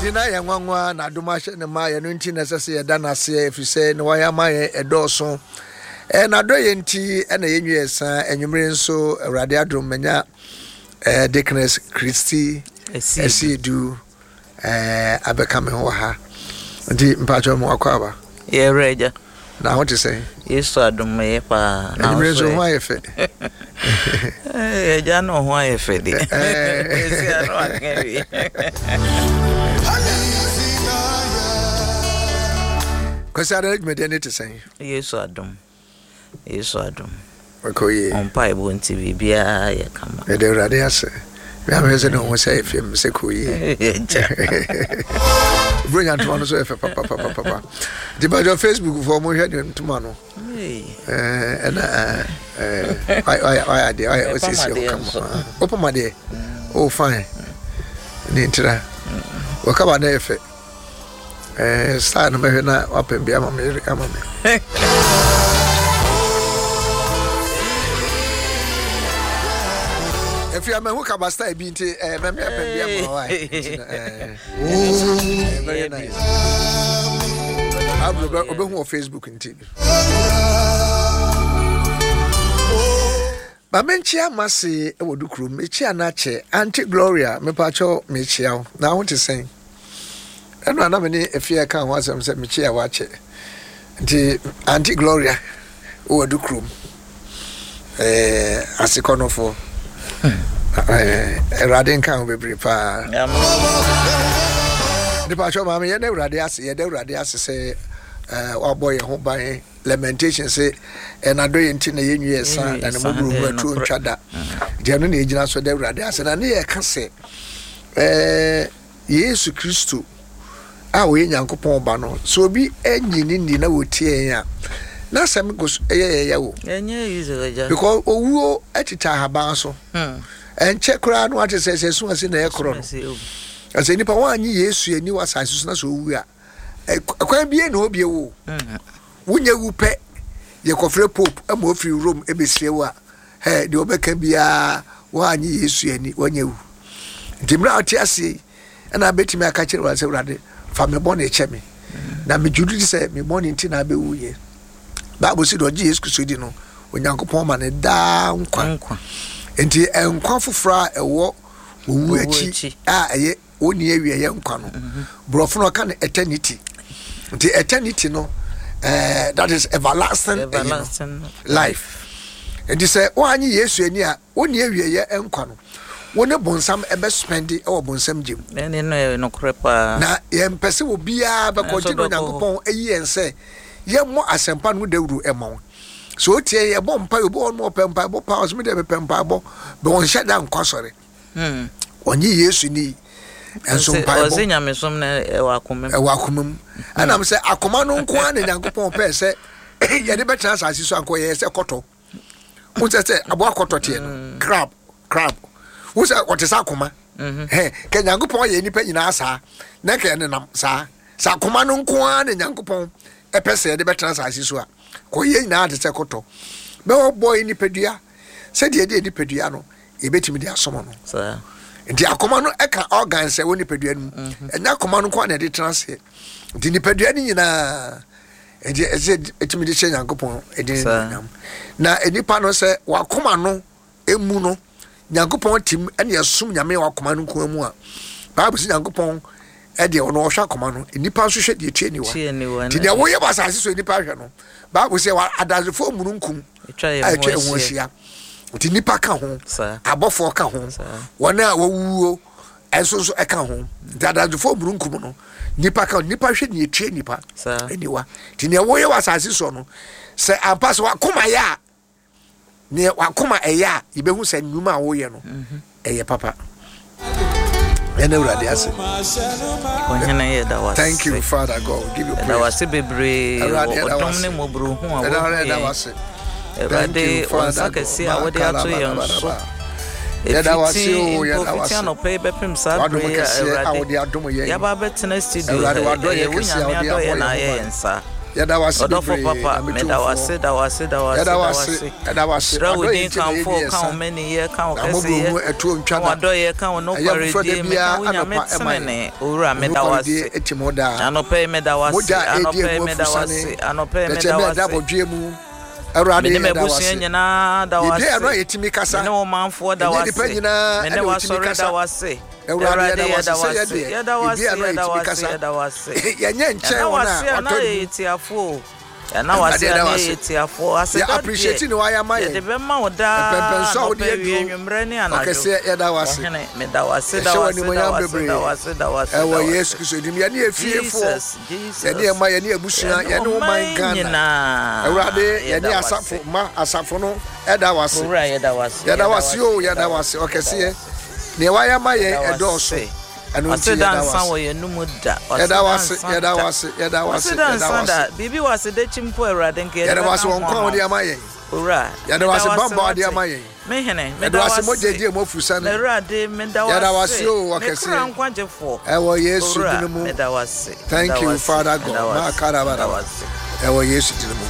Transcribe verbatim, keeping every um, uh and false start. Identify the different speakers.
Speaker 1: Nti na yɛ nwanwa na adom ahyɛ ne ma yɛno nti na ɛsɛ sɛ yɛda no aseɛ, ɛfiri sɛ ne wayɛ ama yɛn ɛdɔɔso. Ɛɛ n'adɔ yɛ nti ɛna yɛnwi yɛ sa. Anwummere nso Awurade adom manya ɛɛ Deaconess Christy Asiedu ɛɛ abɛka me ho wɔ ha. Nti mpakyɛw mu akɔ aba.
Speaker 2: Yɛwerɛ agya.
Speaker 1: Na ho te sɛn?
Speaker 2: Yesu adom yɛ paa.
Speaker 1: Na anwummere nso ho ayɛ fɛ.
Speaker 2: Agya no ho ayɛ fɛ de. Esi ano aka wie.
Speaker 1: Kwasi ada dwumadie ne te sɛn?
Speaker 2: Yesu adom. Yesu adom.
Speaker 1: Ɔkɔ yie.
Speaker 2: Mpaebɔ nti biribiara yɛ kama.
Speaker 1: Yɛde Awurade ase. Mehwɛ sɛ ne ho sɛ ɛfɛ mu sɛ kɔ yie. Buronya ntoma no so yɛ fɛ papapapapa. Nti bàjɔ Facebook foɔ mo hwɛ ne ntoma no. Ɛna wayɛ adeɛ wayɛ ɔsiesie hɔ kama. Wopam adeɛ? Oh fine. Ne ntira. Wɔkaba no yɛ fɛ. Eh, style no mɛhwɛ na wapɛn bi ama me ama me. Efi amahu kaba style bi nti eh mɛmɛ apɛn bi ama wa. Eh, very nice. Abro obehu wɔ Facebook nti. Ma menkyia Mase wɔ Dukurom, mekyia no akyɛ. Auntie Gloria, mepakyɛw mekyia wo. Na ho te sɛn? Ɛno a na me ne Afia ka ho asɛm sɛ mekyia wo akyɛ. Nti Auntie Gloria wɔ Dukurom. Eh, asekɔnɔfoɔ. Eh, Awurade nka ho bebree paa. Mepakyɛw maame, yɛda Awurade ase, yɛda Awurade ase sɛ eh, wabɔ yɛn ho ban. Lamentation se ɛna dɔ yɛ nti na yɛnwi yɛ sa na ne mmɔborɔhunu atuo ntwa da. Nti ɛno na yɛgyina so da Awurade ase. Na ne yɛka sɛ ɛɛ Yesu Kristo a ɔyɛ Nyankopɔn ba no, sɛ obi anyi ne nni na wɔtie yɛn a, n'asɛm kɔ so ɛyɛ yɛn ya o. Because owuo tete ahaban so. Ɛnkyɛ koraa no ate sɛ sɛ ɛso ase na ɛkorɔ no. Sɛ nipa wɔanye Yesu ani wɔ asase so na sɛ owu a, ɛkwan bie na obie wo. Wonyɛ wu pɛ, yɛkɔfrɛ Pope ma ofiri Rome ɛbɛsie wo a, hɛ, deɛ ɔbɛka biara woanye Yesu ani, woanyɛ wu. Nti mmerɛ a wote aseɛ yi, ɛna bɛtumi aka kyerɛ Awurade sɛ, Awurade, fa me bɔne kyɛ me. Na megye di sɛ me bɔne nti na abɛwuyɛ. Bible sɛ deɛ ɔgye Yesu Kristo di no, Onyankopɔn ma no daa nkwa. Nti nkwa foforɔ a ɛwɔ owu akyi a ɛyɛ ɔnni awieɛ nkwa no, borɔfo no ɔka no eternity. Nti eternity no, uh, that is everlasting, everlasting life. Nti sɛ woanye Yesu ani a, wonni awieɛ nkwa no, wo ne bonsam ɛbɛspɛnde wɔ bonsam gyem. Na yɛmpɛ sɛ obiara bɛkɔ, nti na Onyankopɔn ayi yɛn sɛ yɛmmɔ asɛmpa no ho dawuro ɛma wo. Sɛ otie yɛbɔ mpae, obi wɔ hɔ no ɔpɛ mpaebɔ paa, ɔsɛ me deɛ mepɛ mpaebɔ, bɛ wɔnhyɛ da nkɔ asɔre.
Speaker 2: Hmm.
Speaker 1: Ɔnye Yesu ni. Ɛnso mpaebɔ.
Speaker 2: Ɔse nyamesom no ɛwɔ akoma mu.
Speaker 1: Ɛwɔ akoma mu. Ɛnam sɛ akoma no nko ara na Nyankopɔn pɛɛ sɛ yɛde bɛtena asase so ankɔ yɛyɛ sɛ kɔtɔ. Wo sɛ sɛ aboa kɔtɔ teɛ no, mm. crab, crab. Wo sɛ ɔte sɛ akoma. Mm-hmm. Hɛ, kɛ Nyankopɔn yɛ nnipa nyinaa saa, na kɛ ɛnenam saa. Sɛ akoma no nko ara na Nyankopɔn ɛpɛ sɛ yɛde bɛtena asase so a, kɔ yɛ nyinaa te sɛ kɔtɔ. Bɛwɔ bɔɔ nipadua sɛdeɛ ɛde nipadua no yɛbɛtumi de asom no. Nti akoma no ɛka organs ɛwɔ nipadua no mu. Mhm. Ɛnyɛ akoma no nko na ɛde tena aseɛ. Nti nipadua no nyinaa nti ɛsɛ ɛtumi de hyɛ Nyankopɔn ɛdin animuonyam. Na nipa no sɛ wakoma no emu no Nyankopɔn tim ɛne ɛsom Nyame wɔ akoma no nko mu a, Bible sɛ Nyankopɔn ɛdeɛ ɔno ɔhwɛ akoma no, nipa nso hwɛ deɛ ɛtua niwa. Nti deɛ woyɛ wɔ asase so nipa hwɛ no, Bible sɛ adansefoɔ mununkum a atwa ɛho ahyia. Nti nipa ka ho, abɔfoɔ ka ho, wɔn a wɔwuo ɛnso nso ɛka ho. Nti adansefoɔ mununkum no nipa ka ho, nipa hwɛ deɛ ɛtua nipa aniwa. Nti deɛ woyɛ wɔ asase soɔ no, sɛ ampa sɛ wakoma yɛ a, neɛ wakoma ɛyɛ a, yɛbɛhu sɛ nnwuma a woyɛ no ɛyɛ papa. Ɛna Awurade ase.
Speaker 2: Ɔhene yɛda wo ase.
Speaker 1: Thank you Father God. Give you praise.
Speaker 2: Yɛda wo ase bebree
Speaker 1: Awurade
Speaker 2: wɔ
Speaker 1: yɛda wo
Speaker 2: ɔdom
Speaker 1: ase.
Speaker 2: ne mmɔborɔhu a
Speaker 1: Yɛda
Speaker 2: woahu
Speaker 1: yɛda wo
Speaker 2: yɛn.
Speaker 1: ase. Thank
Speaker 2: Awurade,
Speaker 1: you
Speaker 2: wo nsa
Speaker 1: Father God.
Speaker 2: kɛse a wode ato yɛn so.
Speaker 1: Yɛda wo ase
Speaker 2: Ɛfiti
Speaker 1: o,
Speaker 2: mpo
Speaker 1: yɛda wo
Speaker 2: fiti
Speaker 1: ase.
Speaker 2: anɔpa yi bɛpem saa
Speaker 1: W'adom
Speaker 2: bere yi a
Speaker 1: kɛseɛ a
Speaker 2: Awurade
Speaker 1: wode adom yɛn.
Speaker 2: yɛaba abɛtena studio
Speaker 1: Awurade
Speaker 2: ha yi,
Speaker 1: w'adɔyɛ
Speaker 2: ɛyɛ wo
Speaker 1: kɛseɛ a
Speaker 2: Nyame
Speaker 1: wode abɔ
Speaker 2: adɔyɛ
Speaker 1: yɛn
Speaker 2: na
Speaker 1: ho
Speaker 2: ayɛ
Speaker 1: ban.
Speaker 2: yɛn saa.
Speaker 1: Yɛda wo ase
Speaker 2: Ɔdɔfo
Speaker 1: bebree,
Speaker 2: papa,
Speaker 1: Nyame
Speaker 2: meda wo
Speaker 1: Tumfoɔ.
Speaker 2: ase, da wo ase, da wo ase,
Speaker 1: Yɛda
Speaker 2: da
Speaker 1: wo
Speaker 2: wo
Speaker 1: ase,
Speaker 2: ase.
Speaker 1: yɛda wo ase.
Speaker 2: Hyira wo
Speaker 1: Wadɔ
Speaker 2: din
Speaker 1: yɛn nti na
Speaker 2: kamfo
Speaker 1: yɛnni
Speaker 2: wo, ka wo
Speaker 1: ɛsa.
Speaker 2: mmaniyɛ, ka wo
Speaker 1: Na mmɔborɔhunu
Speaker 2: kɛseyɛ,
Speaker 1: ɛtoɔ ntwa
Speaker 2: ka
Speaker 1: da.
Speaker 2: w'adɔyɛ, ka wo
Speaker 1: Ɛyɛ foforɔ da
Speaker 2: nokwaredie. Meka
Speaker 1: biara
Speaker 2: wo Nyame
Speaker 1: anɔpa ɛma yɛn.
Speaker 2: tenene. Owura, meda wo
Speaker 1: Nokwaredie
Speaker 2: ase.
Speaker 1: ɛtim hɔ daa.
Speaker 2: Anɔpa yi meda wo ase,
Speaker 1: Mogya a ɛdi
Speaker 2: anɔpa yi
Speaker 1: emu
Speaker 2: meda wo
Speaker 1: afusane.
Speaker 2: ase, anɔpa yi meda
Speaker 1: Dɛkyɛmɛ
Speaker 2: wo
Speaker 1: ɛda
Speaker 2: ase.
Speaker 1: abɔdweɛ mu. Awurade
Speaker 2: Mene
Speaker 1: yɛda wo
Speaker 2: m'abusua
Speaker 1: ase.
Speaker 2: nyinaa da wo
Speaker 1: Yɛbie
Speaker 2: ase.
Speaker 1: ano a yɛtumi kasa.
Speaker 2: Mene wo manfoɔ da wo
Speaker 1: Ɛnyɛ nnipa
Speaker 2: ase.
Speaker 1: nyinaa
Speaker 2: Mene
Speaker 1: ɛna wɔtumi
Speaker 2: w'asɔre
Speaker 1: kasa.
Speaker 2: da wo ase.
Speaker 1: Awurade
Speaker 2: Awurade
Speaker 1: yɛda wo ase
Speaker 2: yɛda wo
Speaker 1: sɛ
Speaker 2: ase.
Speaker 1: yɛdeɛ
Speaker 2: Yɛda wo
Speaker 1: yɛbie
Speaker 2: ase,
Speaker 1: ano a
Speaker 2: yɛda wo
Speaker 1: yɛtumi
Speaker 2: ase,
Speaker 1: kasa.
Speaker 2: yɛda wo ase.
Speaker 1: Yɛnyɛ nkyɛn
Speaker 2: Yɛda wo
Speaker 1: wɔn a
Speaker 2: ase a na
Speaker 1: wɔatɔ ne
Speaker 2: yɛyɛ
Speaker 1: mu.
Speaker 2: tiafoɔ o. Yɛda wo
Speaker 1: Awurade
Speaker 2: ase a
Speaker 1: yɛda
Speaker 2: na
Speaker 1: wo
Speaker 2: yɛyɛ
Speaker 1: ase.
Speaker 2: tiafoɔ.
Speaker 1: Yɛ
Speaker 2: Aseda
Speaker 1: appreciate
Speaker 2: deɛ
Speaker 1: ne wayɛ ama
Speaker 2: yɛde
Speaker 1: yɛn.
Speaker 2: bɛma wo daa
Speaker 1: Mpɛmpɛnso a wode
Speaker 2: anɔpa awie
Speaker 1: aduro.
Speaker 2: anwummerɛ ne anadwo.
Speaker 1: Ɔkɛseɛ yɛda wo ase.
Speaker 2: Ɔhene, meda wo ase, da
Speaker 1: Yɛhyɛ
Speaker 2: wo
Speaker 1: wo
Speaker 2: ase, da
Speaker 1: animuonyam
Speaker 2: wo ase,
Speaker 1: bebree.
Speaker 2: da wo ase, da wo ase, da
Speaker 1: Ɛwɔ
Speaker 2: wo
Speaker 1: Yesu
Speaker 2: ase.
Speaker 1: Kristo din mu. Yɛne efiefoɔ,
Speaker 2: Jesus, Jesus.
Speaker 1: yɛne yɛn mma, yɛne abusua,
Speaker 2: Yɛne
Speaker 1: yɛne wo man
Speaker 2: ɔman
Speaker 1: Ghana.
Speaker 2: nyinaa
Speaker 1: Awurade, yɛne
Speaker 2: yɛda wo ase.
Speaker 1: asafo ma asafo no ɛda wo ase.
Speaker 2: Owura, yɛda wo ase,
Speaker 1: Yɛda
Speaker 2: yɛda
Speaker 1: wo
Speaker 2: wo
Speaker 1: ase
Speaker 2: ase,
Speaker 1: o,
Speaker 2: yɛda
Speaker 1: yɛda
Speaker 2: wo
Speaker 1: wo ase.
Speaker 2: ase, yɛda wo
Speaker 1: Ɔkɛseɛ,
Speaker 2: ase.
Speaker 1: nea wayɛ ama yɛn
Speaker 2: Yɛda wo
Speaker 1: ɛdɔɔso.
Speaker 2: ase.
Speaker 1: Ɛno nti
Speaker 2: Ɔse da
Speaker 1: yɛda wo
Speaker 2: nsa
Speaker 1: ase.
Speaker 2: wɔ yɛn mu da. Ɔse
Speaker 1: Yɛda wo
Speaker 2: da
Speaker 1: ase,
Speaker 2: nsa
Speaker 1: yɛda wo
Speaker 2: da.
Speaker 1: ase, yɛda wo ase,
Speaker 2: Ɔse da
Speaker 1: yɛda wo
Speaker 2: nsa da.
Speaker 1: ase.
Speaker 2: Biribi wɔ ase dakyi mpo Awurade nka yɛde
Speaker 1: Yɛda wo ase
Speaker 2: bɛka
Speaker 1: wɔ
Speaker 2: ho
Speaker 1: nkwa a
Speaker 2: ama
Speaker 1: wode
Speaker 2: wo.
Speaker 1: ama yɛn.
Speaker 2: Owura,
Speaker 1: Yɛda wo
Speaker 2: meda
Speaker 1: ase
Speaker 2: wo ase
Speaker 1: bambɔ a wode
Speaker 2: wate.
Speaker 1: ama yɛn.
Speaker 2: Me hene,
Speaker 1: Yɛda
Speaker 2: meda
Speaker 1: wo
Speaker 2: wo
Speaker 1: ase mogya
Speaker 2: ase.
Speaker 1: edi emu afusane.
Speaker 2: M'Awurade, meda wo
Speaker 1: Yɛda wo ase
Speaker 2: ase.
Speaker 1: o,
Speaker 2: Me kra
Speaker 1: ɔkɛseɛ.
Speaker 2: nkwagyefoɔ.
Speaker 1: Ɛwɔ Yesu
Speaker 2: Owura,
Speaker 1: din mu.
Speaker 2: meda wo ase.
Speaker 1: Thank
Speaker 2: Meda wo
Speaker 1: you,
Speaker 2: ase.
Speaker 1: Father
Speaker 2: Meda
Speaker 1: God.
Speaker 2: wo ase. Meda wo
Speaker 1: Makarabara.
Speaker 2: ase.
Speaker 1: Ɛwɔ Yesu din mu.